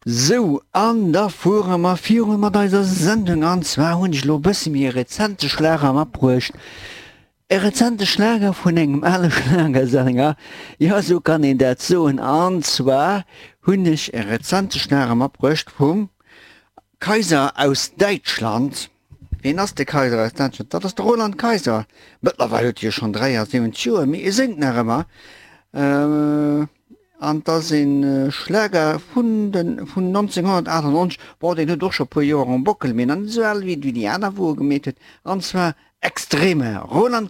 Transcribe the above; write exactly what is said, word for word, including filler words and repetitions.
Sou, an da fuere mer virun mat eiser Sendung. An zwar hunn ech elo e bësse méi e rezente Schlager matbruecht. E rezente Schlager vun engem ale Schlagersänger, jo esou kann een dat soen. An zwar hunn ech e rezente Schlager matbruecht vum Kaiser aus Däitschland. Ween ass de Kaiser aus Däitschland? Dat ass de Roland Kaiser. Mëttlerweil huet hie schonn dräiasiwwenzeg Joer, mee e séngt nach ëmmer. An 't ass e Schlager vun de vun nonzénghonnertaachtenonzeg. Bon, deen huet och scho puer Joer um Bockel, mee nach net esou al wéi déi aner, wou e gemeet huet. An zwar Extreme, Roland.